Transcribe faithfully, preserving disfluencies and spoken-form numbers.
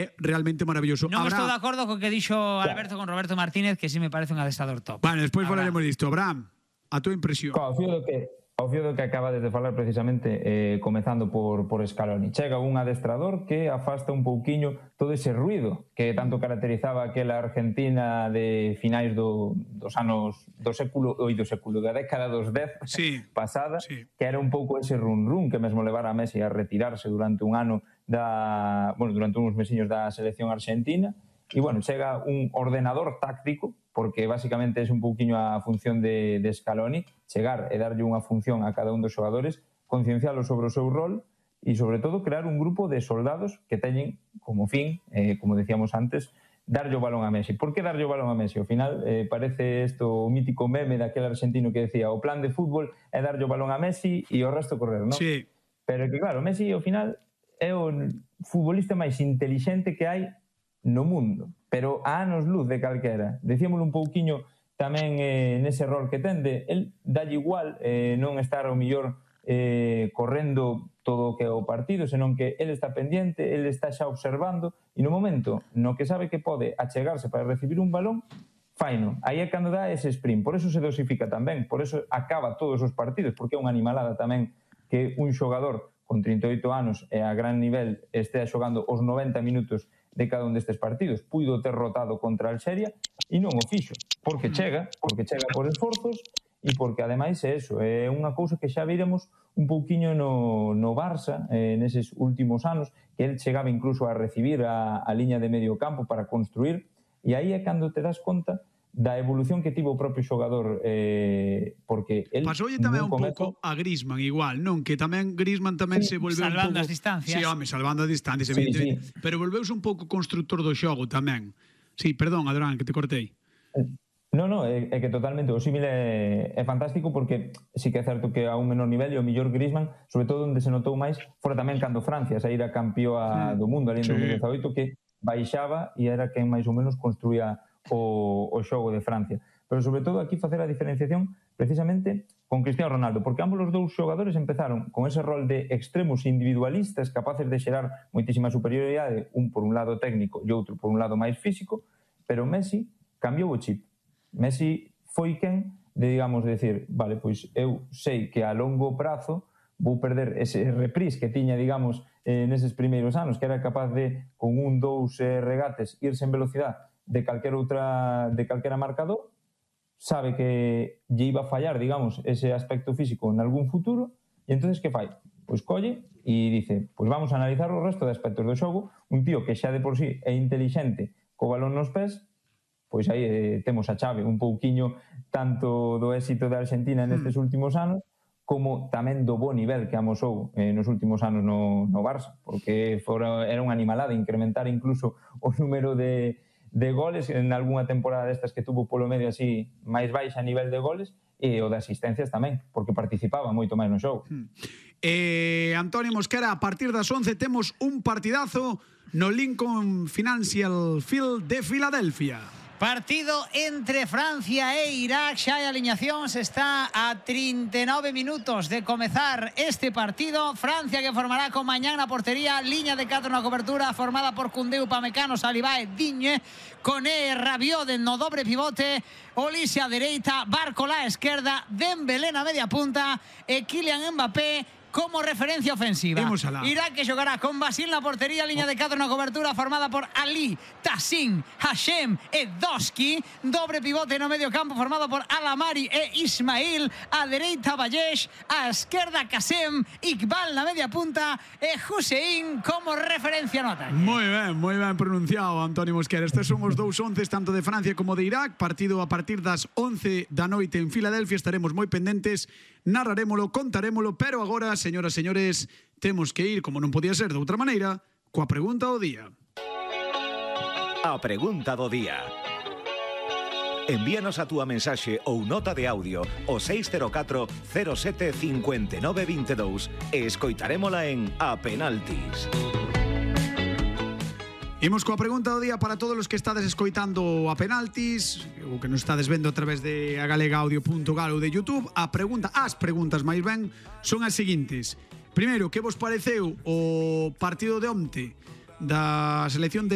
é realmente maravilloso. Non Abraham... estou de acordo co que dixo Alberto con Roberto Martínez, que sí me parece un adestrador top. Bueno, despois falaremos disto. Abraham, a túa impresión. Ao fío do que, ao fío do que acabades de falar precisamente, eh, comezando por, por Scaloni. Chega un adestrador que afasta un pouquiño todo ese ruido que tanto caracterizaba aquela Argentina de finais do, dos anos do século, oi, do século, da década dos dez sí, pasada, sí. que era un pouco ese run-run que mesmo levara a Messi a retirarse durante un ano da, bueno, durante uns mesiños da selección argentina. E, bueno, chega un ordenador táctico, porque basicamente é un pouquiño a función de, de Scaloni, chegar e darlle unha función a cada un dos xogadores, conciencialos sobre o seu rol e, sobre todo, crear un grupo de soldados que teñen como fin, eh, como decíamos antes, darlle o balón a Messi. Por que darlle o balón a Messi? Ao final, eh, parece isto o mítico meme daquele argentino que decía o plan de fútbol é darlle o balón a Messi e o resto correr, non? Sí. Pero que, claro, Messi, ao final, é o futbolista máis intelixente que hai no mundo, pero a anos luz de calquera. Decíamolo un pouquiño tamén eh, nese rol que tende, el dalle igual eh, non estar ao millor eh, correndo todo o que é o partido, senón que el está pendiente, el está xa observando e no momento no que sabe que pode achegarse para recibir un balón, faino. Aí é cando dá ese sprint, por eso se dosifica tamén, por eso acaba todos os partidos, porque é unha animalada tamén que un xogador con trinta e oito anos e a gran nivel estea xogando os noventa minutos de cada un destes partidos. Puido ter rotado contra Alxeria e non o fixo, porque chega, porque chega por esforzos e porque ademais é eso, é unha cousa que xa viremos un pouquiño no, no Barça eh, neses últimos anos, que el chegaba incluso a recibir a, a liña de medio campo para construir, e aí é cando te das conta da evolución que tivo o propio xogador, eh, porque el pasoulle tamén un comezo... pouco a Griezmann igual, non? Que tamén Griezmann tamén sí, se volveu salvando un pouco... as distancias. Sí, home, salvando as distancias, sí, evidentemente. Sí. Pero volveuse un pouco constructor do xogo tamén. Sí, perdón, Adrián, que te cortei. No, no, é, é que totalmente o símil é, é fantástico, porque sí que é certo que a un menor nivel e o mellor Griezmann, sobre todo onde se notou máis, fora tamén cando Francia saíra campeoa do mundo ali en sí. dos mil dezaoito, que baixaba e era quen máis ou menos construía o, o xogo de Francia. Pero sobre todo aquí facer a diferenciación precisamente con Cristiano Ronaldo, porque ambos os dous xogadores empezaron con ese rol de extremos individualistas capaces de xerar moitísima superioridade, un por un lado técnico e outro por un lado máis físico, pero Messi cambiou o chip. Messi foi quen de, digamos, decir, vale, pois eu sei que a longo prazo vou perder ese reprise que tiña, digamos, eh, neses primeiros anos, que era capaz de, con un, dous eh, regates, irse en velocidade de calquera outra, de calquera marcador, sabe que lle iba a fallar, digamos, ese aspecto físico en algún futuro, e entonces que fai? Pois colle e dice, pois vamos a analizar o resto de aspectos do xogo, un tío que xa de por sí é intelixente co balón nos pés, pois aí eh, temos a chave un pouquiño tanto do éxito de Argentina nestes mm. últimos anos, como tamén do bo nivel que amosou eh, nos últimos anos no, no Barça, porque fora, era unha animalada incrementar incluso o número de de goles en algunha temporada destas que tuvo polo medio así máis baixa a nivel de goles, e o de asistencias tamén, porque participaba moito máis no xogo. Hmm. Eh, Antonio Mosquera, a partir das once temos un partidazo no Lincoln Financial Field de Filadelfia. Partido entre Francia e Irak. Xa hai aliñacións, está a trinta e nove minutos de comezar este partido. Francia que formará con Mañán na portería, liña de catro na cobertura formada por Koundé, Upamecano, Saliba e Digne, Koné, Rabiot no dobre pivote, Olise a dereita, Barcola a esquerda, Dembélé na media punta e Kylian Mbappé como referencia ofensiva. Irak que xogará con Basil na portería, liña de catro na cobertura formada por Ali, Tassin, Hashem e Doski, dobre pivote no medio campo formado por Alamari e Ismail, a dereita Vallesh, a esquerda Kasem, Iqbal na media punta e Hussein como referencia no ataque. Moi ben, moi ben pronunciado, Antonio Mosquera. Estes son os dous onces tanto de Francia como de Irak, partido a partir das once da noite en Filadelfia. Estaremos moi pendentes, narrarémolo, contarémolo, pero agora, señoras e señores, temos que ir, como non podía ser de outra maneira, coa pregunta do día. A pregunta do día. Envíanos a túa mensaxe ou nota de audio ao seis cero catro cero sete cinco nove dos dous e escoitarémola en A Penaltis. Imos coa pregunta do día para todos os que estades escoitando A Penaltis, ou que nos estades vendo a través de agalegaudio punto gal ou de YouTube. A pregunta, as preguntas máis ben, son as seguintes. Primeiro, que vos pareceu o partido de onte da selección de